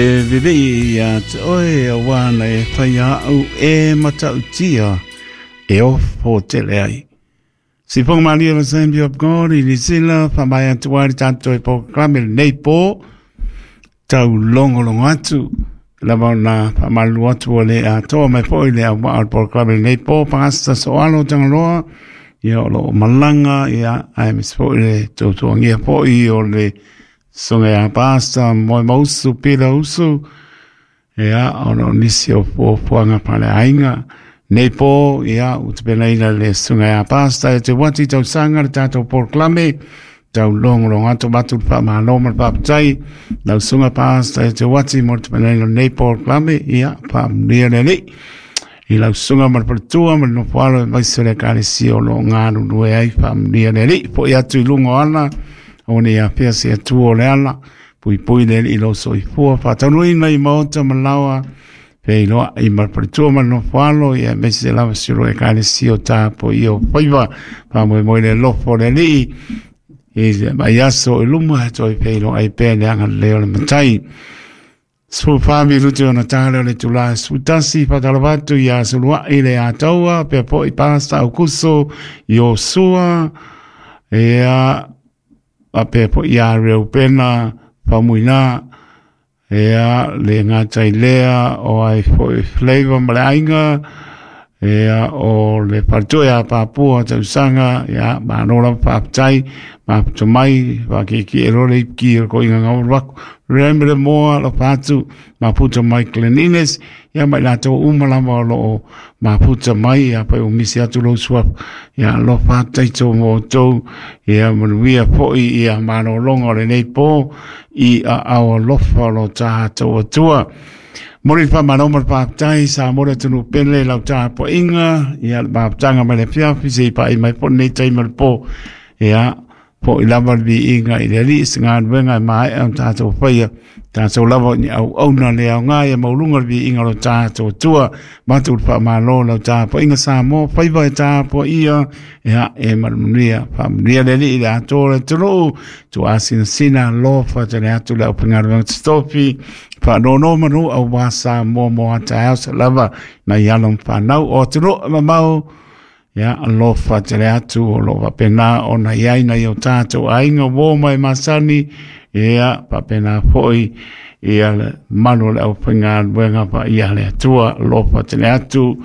E vevei ia te oe auā na e whai au e matautia e ofo tele ai. Si ponga malia la Assembly of God i Nisila, whamai atu ai le tātou e pōkalame nei pō, tau longo longo atu, lava na whamalu atu o le atoa mai po i le au maa o le pōkalame nei pō, pangasta soalo tangaloa, ia o lo malanga, ia ai mis po i le tautuangia po i o le Songa ia pasta moe mausu pila usu ia ona o nisi o puapuaga paleaiga nei po ia ua tapenaina le susuga ia pasta e te wati tausaga le tatou polokalame tau logologo atu avatu le faamalo ma le faafetai lau susuga pasta e te wati mo le tapenaina o lenei polokalame ia faamanuia le Alii i lau susuga ma le faletua ma le nofoalo aemaise o le ekalesia o lo o galulue ai faamanuia le Alii fo'i atu i luga o ala o nei afea se atua o le ala puipui le Alii i lou soifua faataunuuina i maota ma laoa feiloai ma le faletua ma le nofoalo ia aemaise lava si o lo ekalesia o tapuaia o faiva faamoemoe le alofa o le Alii i le mai aso i luma e toe feiloai pea le agalelei o le Matai. 14 minute ona tā lea o le itulā e 11, faatalofa atu iā Suluai le Ataua, pea foi Pasta Aukuso, Iosua, ia, faapea foi ia Reupena, Faumuina, ia, le gata i lea, o ai foi Flavor ma le aiga, ia, o le faletua ia Papua Tausaga, ia, malo lava faafetai, mafuta mai, whakeke e rore i ki o ko inga ngau waku. Remember moa lo patu, mafuta mai cleanliness, ia mai latou uma lava o loo mafuta mai, ia pai o misi atu lou suafa, ia lo faafetai tou mo outou, ia manuia foi ia malologa o lenei po, i aao alofa o lo tatou Atua. Momoli le faamalo ma le faafetai Samoa le atunuu pele i lau tapuaiga, ia le mafutaga mai le afiafi se i pa'i mai foi lenei taimi o le po. Ia, fo'i lava le viiga i le Alii se galuega e maea ona tatou faia, tatou lava o ni auauna le aoga ia maualuga le viiga o lo tatou Atua. Avatu le faamalo i lau tapuaiga Samoa, faiva e tapuaia, ia e manuia, faamanuia le Alii i le atoa o le atunuu, tuuasinasina alofa tele atu le aufaigaluega totofi, faanonomanu aua Samoa mo a taeao se lava nai alo ma fanau o atunuu e mamao, ia alofa tele atu o lo o faapena ona i ai nai o tatou aiga uo ma e masani, ia faapena foi ia le malu o le aufaigaluega paia a le Atua, alofa tele atu,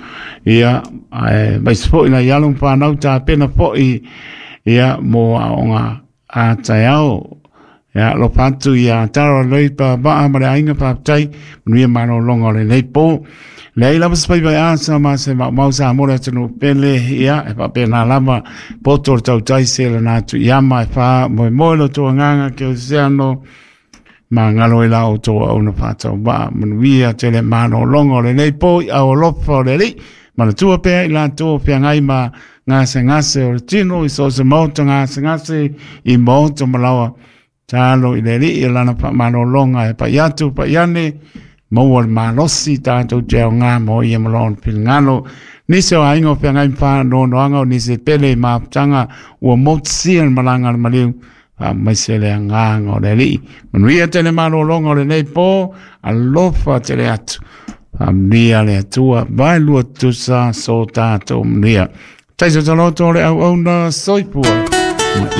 ia aemaise foi nai alo ma fanau tapena foi ia mo aoga a taeao. Ia, alofa atu ia Tara Leipa Vaa ma le aiga faafetai, manuia malologa o lenei po. Leai lava se faiva e asa ma se maumau Samoa le atunuu pele, ia, e faapena lava, poto le tautai se lana atu i ama e wha moemoe lo tō agaga ke oceano, ma ngalo i la o tō auna whātau vaa, manuia tele malologa o lenei po i au alofa o le Alii, manatua pea i latou o feagai ma gasegase o le tino i so o se maota gasegase i maota ma laoa. Talo i le Alii o lana faamalologa e pai atu pai ane, maua le malosi tatou te aoga mo ia ma lona finagalo. Nisi o aiga o feagai ma faanoanoaga o nisi e pele i mafutaga ua motusia le malaga a le maliu, faamaise le agaga o le Alii. Manuia tele malologa o lenei po, alofa tele atu. Faamanuia le Atua, vaelua tutusa so tatou manuia. Taisa taloto o le auauna soifua.